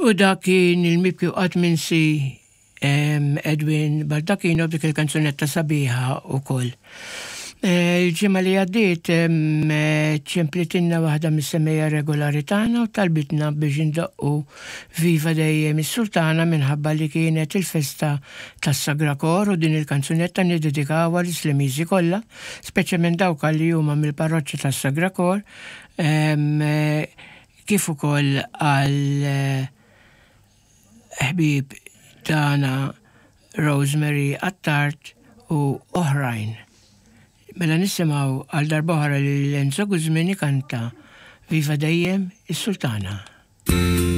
U dak kien il-mibki u qatt minsi Edwin Baldacchino b'dik il-kanzunetta sabiħa ukoll. Il-ġimgħa li għaddiet ċemplitilna waħda mis-semejja regolari tagħna u talbitna biex indoqqu Viva Dejjem is-Sultana minħabba li kienet il-festa tas-Sagra Kor u din il-kanzunetta niddedikawha lis-Slemiżi kollha, speċjalment dawk li huma mill-parroċċa tas-Sagra Kor kif ukoll għal ħbieb tagħna Rosemary Attard u oħrajn. Mela nisimgħu għal darb'oħra lil Enzo Guzmin ikanta Viva Dejjem is-Sultana.